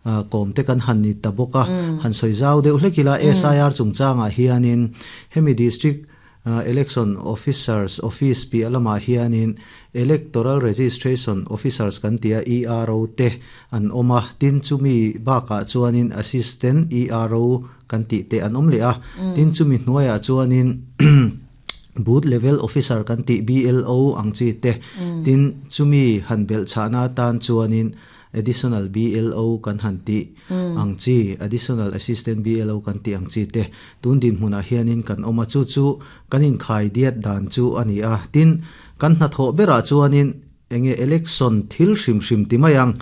Kawm te kan han ni ta bawk a, han sawi zau deuh hlek ila SIR chungchangah hianin hemi District Election Officers Office piah lamah hianin Electoral Registration Officers kan tia ERO te an awm a, tin chumi bakah chuanin Assistant ERO kan tih te an awm leh a, tin chumi hnuaiah chuanin Booth Level Officer kan tih BLO ang chi te, tin chumi han belhchhahna atan chuanin Additional BLO kan han tih ang chi, Additional Assistant BLO kan tih ang chi te tun dinhmunah hianin kan awm a, chu chu kan inkhai diat dan chu a ni a. Tin, kan hnathawh berah chuanin enge election thil hrim hrim ti mai ang,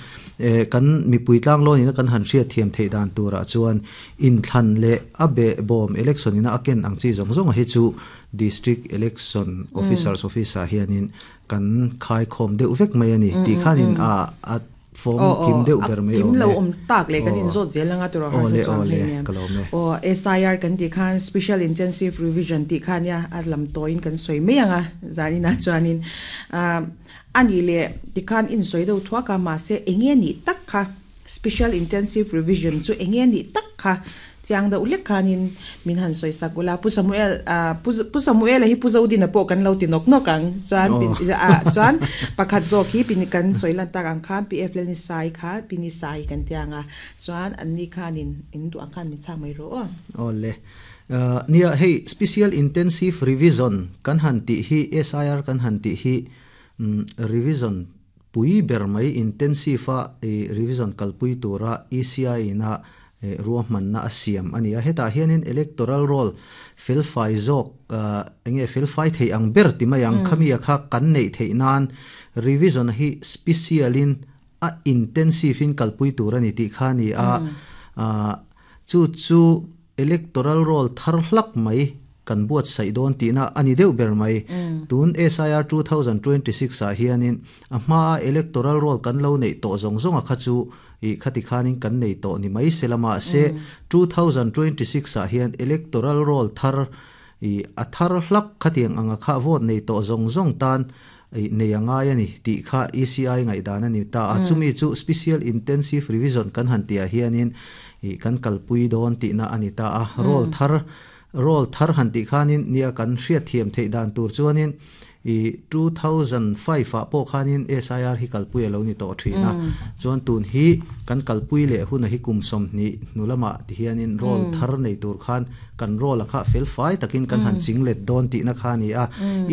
kan mipui tlanglawn ina kan han hriat thiam theih dan turah chuan inthlan leh a behbawm election ina a ken ang chi zawng zawng hi chu District Election Officers Office ah hianin Kan khaikhawm deuh vek mai a ni tih khanin a a form kim deuh ber mai awm e. Kim lo awm tak leh kan inzawt zel anga tawrh harsa chuan hei nen. Aw SIR kan tih khan Special Intensive Revision tih kha nia a lam tawiin kan sawi mai anga zaninah chuanin a nih leh tikhan insawi deuh thuak a mahse enge nih tak kha Special Intensive Revision chu enge nih tak kha chiang deuh hlek khanin min han sawi sak ula. Pu Samuel, Pu Samuela hi Pu Zodina pawh kan lo ti nawk nawk ang. Chuan chuan pakhat zawk hi pin kan sawi lan tak ang khan PF Lelnisai kha Pinisai kan ti ang a. Chuan anni khanin in duh ang khan min chhak mai rawh aw. Awle. Nia hei Special Intensive Revision kan han tih hi SIR kan han tih hi revision Pui ber mai intensive a revision kalpui tura ECI ina ruahmanna a siam a ni a. Hetah hianin electoral roll felfai zawk enge felfai thei ang ber ti mai ang khami a kha kan neih theih nan revision hi special in a intensive in kalpui tur a ni tih kha a ni a. Chu chu Electoral roll thar hlak mai kan buatsaih dawn tihna a ni deuh ber mai. Tun SIR 2026 ah hianin a hmaa electoral roll kan lo neih tawh zawng zawnga kha chu ih khati khanin kan nei tawh ni mai se la mahse 2026 ah hian electoral roll thar ih a thar hlak khatiang anga kha vote nei tawh zawng zawng tan ih nei a ngai a ni tih kha ECI ngaihdan a ni ta a. Chumi chu Special Intensive Revision kan han tihah hianin ih kan kalpui dawn tihna a ni ta a. Roll thar roll thar han tih khanin nia kan hriatthiam theih dan tur chuanin ih 2005 ah pawh khanin SIR hi kalpui a lo ni tawh thin a. Chuan tun hi kan kalpui leh huna hi kum 20 hnu lamah ti hianin roll thar nei tur khan kan roll a kha fel fai takin kan han ching let dawn tihna kha a ni a.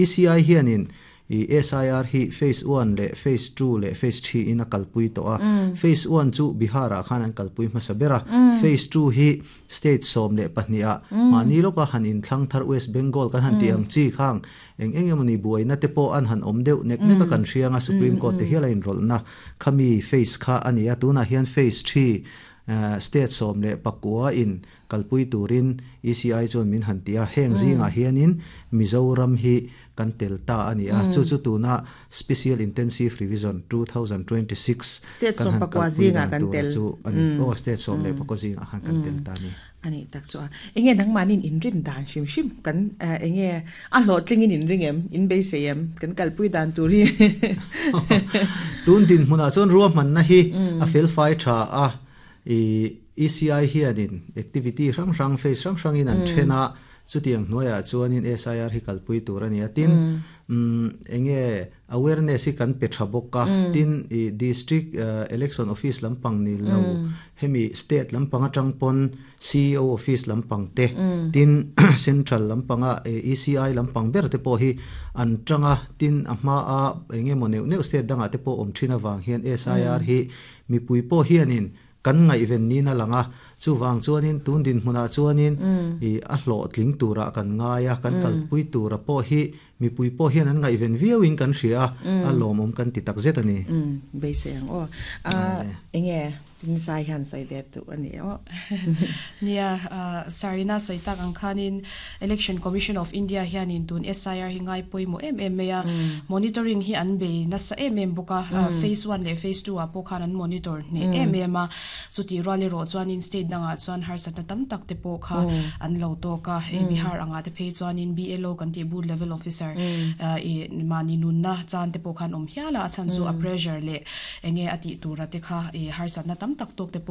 ECI hianin ih SIR hi phase one leh phase two leh phase three in a kalpui tawh a. Phase one chu Bihar ah khan an kalpui hmasa ber a. Phase two hi state 12 ah mahni lawka han inthlang thar West Bengal kan han tih ang chi khang eng eng emawni buaina te pawh an han awm deuh nek nek a kan hriang a Supreme Court te hial a inrawlhna khami phase kha a ni a. Tunah hian phase three state 19 in Kalpui turin ECI chuan min han ti a, heng zingah hianin Mizoram hi kan tel ta a ni a, chu chu tuna Special Intensive Revision 2026 State kan han 14 kalpui zingah dan kan tura tel. chu a ni. Aw, State 14 zingah khan kan tel ta a ni. A nih tak chu a. Enge nangmahniin inrin dan hrim hrim kan enge a hlawhtlingin inring em, in beisei em, kan kalpui dan tur hi? Tun dinhmunah chuan ruahmanna hi a felfai tha a, I ECI hianin activity hrang hrang, phase hrang hrangin an then a, chutiang hnuaiah chuanin SIR hi kalpui tur a ni a. Tin, eng nge awareness hi kan pe tha bawk a, tin i district election office lampang ni lo, hemi state lampang atang pawn CEO office lampang te, tin central lampanga ECI lampang ber te pawh hi an tang a, tin a hmaa eng nge maw neuh neuh state dangah te pawh awm thin avang hian SIR hi Mipui pawh hianin kan ngaihven niin a lang a, chuvang chuanin tun dinhmunah chuanin i a hlawhtling turah kan ngai a, kan kalpui tura pawh hi mipui pawh hian an ngaihven viauin kan hria a, a lawmawm kan ti takzet a ni. Beisei ang aw. Enge Pinsai hian sawi ve duh a ni aw. Nia, Sarina sawi tak ang khanin Election Commission of India hianin tun SIR hi ngai pawimawh em em mai a, monitoring hi an bei nasa em em bawk a, phase one leh phase two ah pawh khan an monitor hneh em em a, chutih rual erawh chuanin state dangah chuan harsatna tam tak te pawh kha an lo tawk a, hei Bihar angah te phei chuanin BLO kan tih booth level officer ih mahni nunna chan te pawh khan awm hial a, a chhan chu a pressure leh enge a tih tura te kha ih harsatna tam tak tawk te pawh.